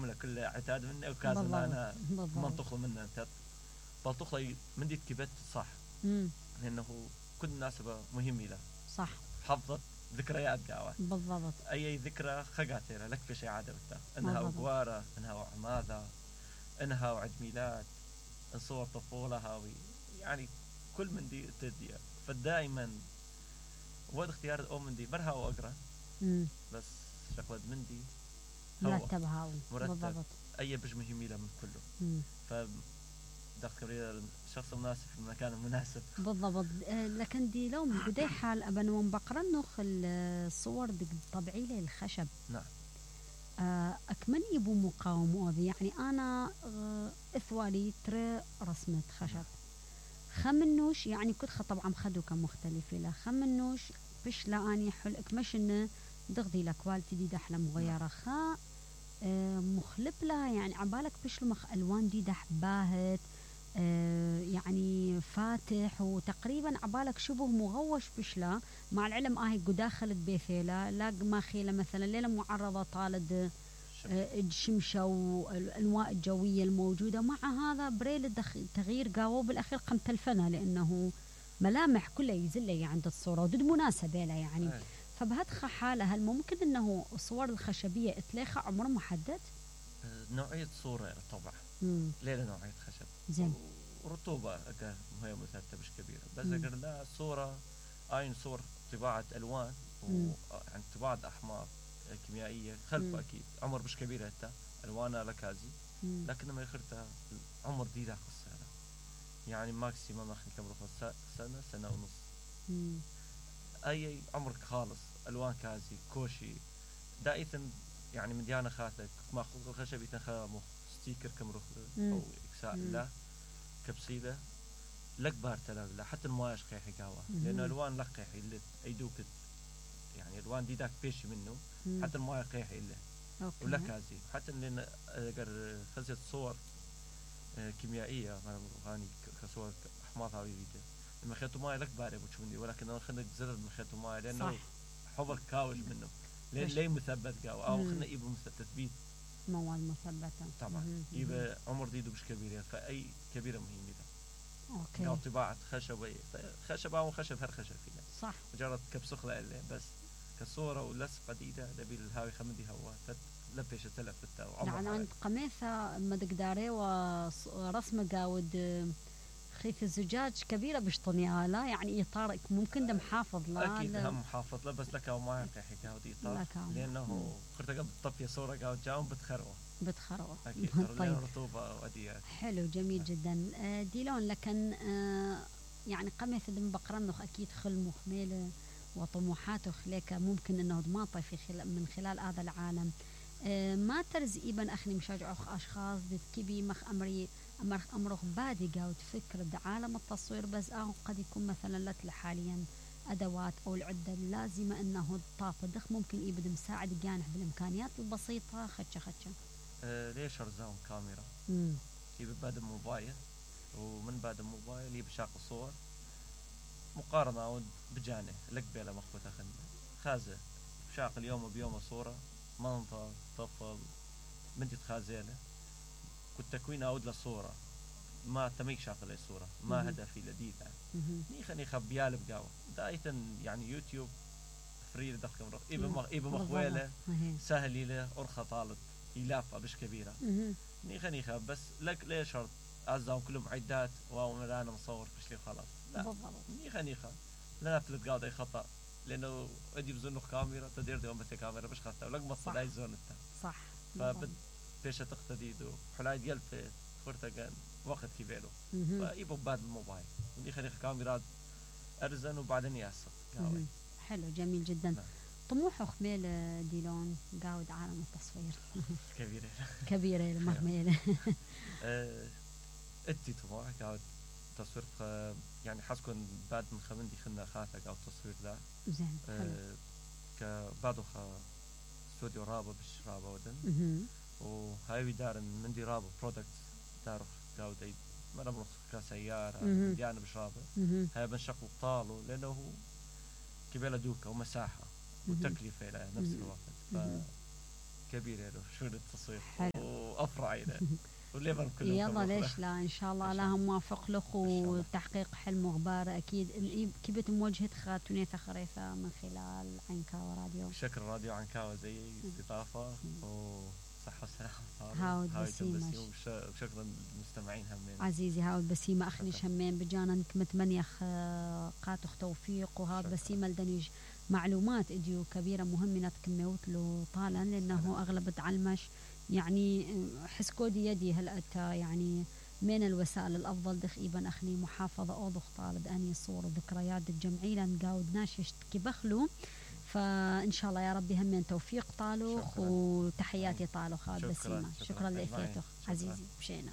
عامله كلها عتاد مني وكازن انا منطقه منه انت بلطخ من دي كبت صح لانه كل مناسبه مهمه له صح حفظت ذكريات قاوه بالضبط اي ذكرى خقاتها لك في شيء عادبته انها وقواره انها وعماذا انها وعيد ميلاد صور طفوله هاوي يعني كل من دي تدي فدائما وقت اختيار الام من دي برها واقرا بس شغله من دي مرتب هاوي بالضبط اي بج مهمه له من كله ف دخل الشخص المناسب في المكان المناسب بالضبط. لكن دي لو من بداية حال أبن ومبقرن نخ الصور دي طبيعي لي الخشب نعم أكمل يبو مقاومة يعني أنا إثوالي ترى رسمة خشب خمنوش يعني كنت طبعا خدو كمختلفة لا خمنوش بش لا أني حل إكمش إنه دغدي لكوالتي دي دحلة مغيرة خا مخلب لها يعني عبالك بش المخ ألوان دي دح باهت يعني فاتح وتقريبا عبالك شبه مغوش بشلا مع العلم هاي قداخلت بيثيلا لا ما خيله مثلا ليلة معرضة طالد الشمشة والأنواع الجوية الموجودة مع هذا بريل تغيير قاوة بالأخير قم تلفنا لأنه ملامح كلها يزلي عند الصورة ودد مناسبة له يعني فبهدخ حالة هل ممكن أنه الصور الخشبية اتلاخى عمر محدد؟ نوعية صورة طبعا ليلة نوعية خشب زين ورطوبة هي مثلثة مش كبيرة بس أقول لا صورة عين صور طباعة ألوان وعن طباعة أحمر كيميائية خلفه أكيد عمر مش كبيرة حتى ألوانها لكازي لكن ما يخرتها عمر دي داخل السنة يعني ماكسيمم أخي كبر سنة ونص أي عمرك خالص ألوان كازي كوشي دائما يعني من ديانا خاطك ماخذ الخشبي تنخا ستيكر كمرخ أو إكساء لا كبسيلة لك بارتلا لا حتى المواش قيحي قهوة لأنه ألوان لك قيحي اللي أيدوك يعني ألوان دي داك بيش منه حتى المواش قيحي اللي ولا كازي حتى لأن أقر خزت صور كيميائية غاني كصور أحماض هاوي فيديو لما خيطوا ماي لك باري بتشوفني ولكن أنا خلنا زرد من خيطوا ماي لأنه حبر كاوج منه ليه مثبت قهوة أو خلنا يبقى تثبيت مواد مثبتة طبعا يبقى عمر ديده مش كبير فأي كبيرة مهمة اوكي او طباعة خشب او خشب هر خشب فيها صح مجرد كبسخلة اللي بس كصورة ولصقة ديدة دبي الهاوي خمدي هوا لبش تلف التاو يعني عند قميثة مدقداري ورسمة قاود خيث الزجاج كبيرة بشطني لا يعني إطار ممكن ده محافظ لا أكيد هم محافظ لا بس لك أو ما يحكي قاود إطار لأنه خرت قبل طفية صورة قاود جاهم بتخروة أكيد طيب. رطوبة وديات حلو جميل جدا ديلون لكن يعني قميث دم بقرنخ أكيد خل مخميلة وطموحاته خليك ممكن أنه دماطي من خلال هذا العالم ما ترز إيبن أخني مشاجع أشخاص كبي مخ أمرخ بادي قاود فكر بعالم التصوير بس قد يكون مثلا لك حاليا أدوات أو العدة اللازمة أنه الطاقة دخ ممكن يبدأ مساعد جانح بالإمكانيات البسيطة خدشة ليش أرزاهم كاميرا يبقى بعد الموبايل ومن بعد الموبايل يبقى شاق صور مقارنة بجانه لك بلا مخبوطة خازة شاق اليوم وبيوم صورة منظر طفل بنتي تخازيله كنت تكوين أود للصورة ما تميك شاق لي صورة ما هدفي لديدة نيخا بيالب قاوة دايتا يعني يوتيوب فري دخل إيبا مخويلة سهلي له أرخى طالب يلافة بش كبيرة نيخا بس لك ليه شرط أعزهم كلهم عدات واو أنا مصور بش لي خلاص لا نيخا لا نفلت قاعد أي خطأ لأنه أدي بزنه كاميرا تدير ديوم بس كاميرا بش خطأ ولك مصر أي زون التا صح فبد بيشة تقتديدو حلايد يلفت خورتا وقت كيبيلو فايبو بعد الموبايل نيخا كاميرات أرزن وبعدين ياسق حلو جميل جدا طموحه خميل ديلون قاود عالم التصوير كبيرة المهميلة ادي طموح قاود تصوير يعني حسكن بعد من خمندي خلنا خاطك أو تصوير ذا زين كبعده استوديو رابا بش رابا ودن وهاي دار من دي رابا برودكت دارو قاود اي مرة كسيارة ديانا بش رابا هاي بنشقل طالو لأنه كبيرة دوكا ومساحة وتكلفة إلى نفس الوقت كبير يعني شو التصوير حلو. وافرع يعني والليفر كله يلا ليش لا، ان شاء الله الله موافق لك وتحقيق حلم وغباره اكيد. كيف مواجهه خاتونيتا خريفه من خلال عنكاوة راديو. شكرا راديو عنكاوة زي استضافه وصحة وسلامة. هاود بسيمة وشكرا للمستمعين همين عزيزي. هاود بسيمة أخنيش همين بجانا متمنية قاتخ توفيق. وهاود بسيمة لدنيج معلومات إديو كبيرة مهمة تكميوت له طالا لأنه أغلب تعلمش يعني حس كودي يدي هلأتا يعني من الوسائل الأفضل دخ إيبان أخني محافظة أوضخ طالد أني صور وذكريات الجمعية نقاود ناشش كبخلو. فإن شاء الله يا ربي همين توفيق طالوخ وتحياتي طالوخ هاد بسيمة. شكرا لإثيتك عزيزي مشينا.